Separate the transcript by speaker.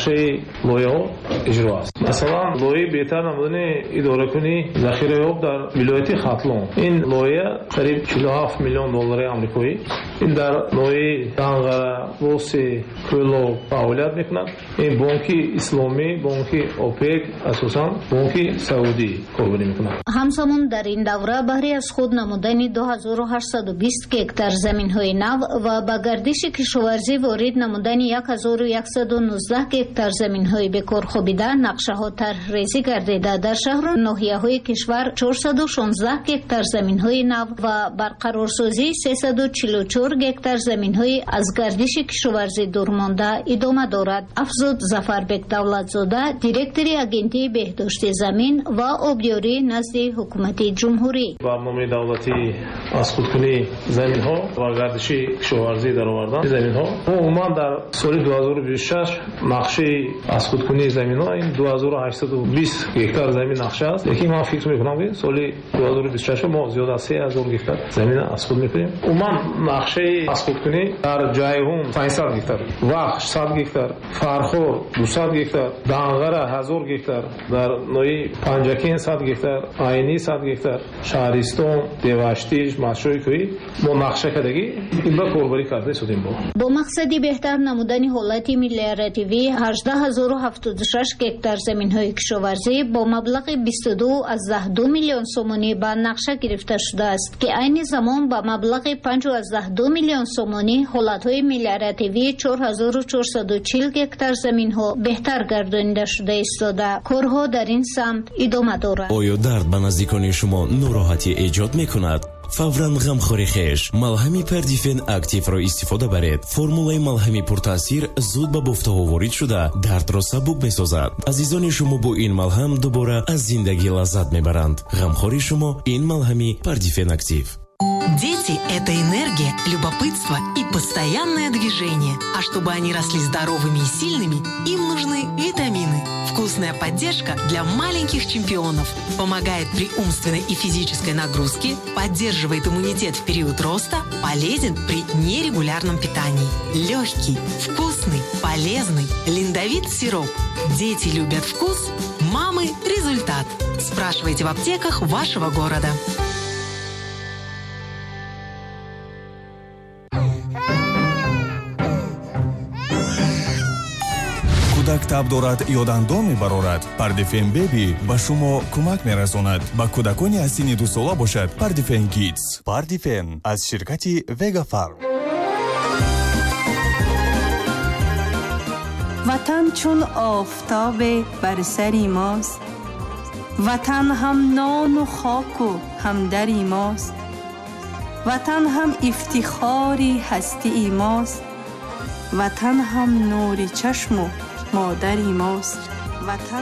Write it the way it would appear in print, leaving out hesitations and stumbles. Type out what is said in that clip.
Speaker 1: Нақшаи лоиҳаҳо иҷро аст. Масалан, лоиҳаи беҳтар намудани идоракунии захираи об дар вилояти Хатлон. Ин лоиҳа қариб 47 миллион доллари амрикоӣ. Ин дар ноҳияи Данғара, Восе, Кӯлоб фаъолият мекунад. Ин Бонки Исломӣ, Бонки ОПЕК, асосан Бонки Саудӣ корбарӣ мекунад.
Speaker 2: Ҳамзамон дар ин давра баҳри аз худ намудани 2820 гектар заминҳои нав ва ба гардиши кишоварзӣ ворид намудани 1119 гектар заминҳои бекор хобида нақшаҳо тарҳрезӣ гардида, дар шаҳру ноҳияҳои кишвар 416 гектар заминҳои нав ва барқарорсозии 344 гектар заминҳои аз гардиши кишоварзӣ дурмонда идома дорад, афзуд Зафарбек Давлатзода, директори Агентии беҳдошти замин ва обёрӣ назди Ҳукумати Ҷумҳурӣ.
Speaker 1: Барномаи давлатии аз худкунии заминҳо ва гардиши кишоварзӣ даровардан заминҳо. Умуман дар соли 2026 нақшаи аз худкунии заминҳо ин 2820 гектар замин нақша аст. Лекин ман фикр мекунам, ки соли 2026 мо зиёд аз 3000 гектар замин аз худ мекунем. Умуман нақшаи аз худкунӣ дар Ҷайҳун 500 гектар, Вахш 100 гектар, Фархор 200 гектар, Данғара 1000 гектар, дар ноҳияи Панҷакент 100 гектар, Айнӣ 100 гектар, Шаҳристон, Деваштич, Мастчои кӯҳӣ мо нақша кардагӣ ин ба корбарӣ карда истодем.
Speaker 2: Бо мақсади беҳтар намудани ҳолати мелиоративӣ 18076 гектар заминҳои кишоварзӣ бо маблағи 22,2 миллион сомонӣ ба нақша гирифта шудааст, ки айни замон ба маблағи 5,2 миллион сомонӣ ҳолатҳои мелиоративии 4440 гектар заминҳо беҳтар гардонида шуда истода. Корҳо дар ин самт идома дорад.
Speaker 3: Оё дард ба наздикони шумо нороҳатӣ эҷод мекунад? Фавран ғамхори хеш малҳами Пердифен Активро истифода баред. Формулаи малҳами пуртаъсир зуд ба бофтаҳо ворид шуда, дардро сабук месозад. Азизони шумо бо ин малҳам дубора аз зиндагӣ лаззат мебаранд. Ғамхори шумо ин малҳами Пердифен Актив.
Speaker 4: Дети – это энергия, любопытство и постоянное движение. А чтобы они росли здоровыми и сильными, им нужны витамины. Вкусная поддержка для маленьких чемпионов. Помогает при умственной и физической нагрузке, поддерживает иммунитет в период роста, полезен при нерегулярном питании. Легкий, вкусный, полезный. Линдовит сироп. Дети любят вкус, мамы – результат. Спрашивайте в аптеках вашего города.
Speaker 5: Кӯдак таб дорад ё дандон мебарорад, Пардифен Беби ба шумо кӯмак мерасонад. Ба кӯдакони аз синни 2 сола бошад Пардифен Кидс. Пардифен аз ширкати Вегафарм.
Speaker 6: Ватан чун офтобе бар сари мост, ватан ҳам нону хоку ҳам дари мост, ватан ҳам ифтихори ҳастии мост, ватан ҳам нури чашму модари мост, ватан.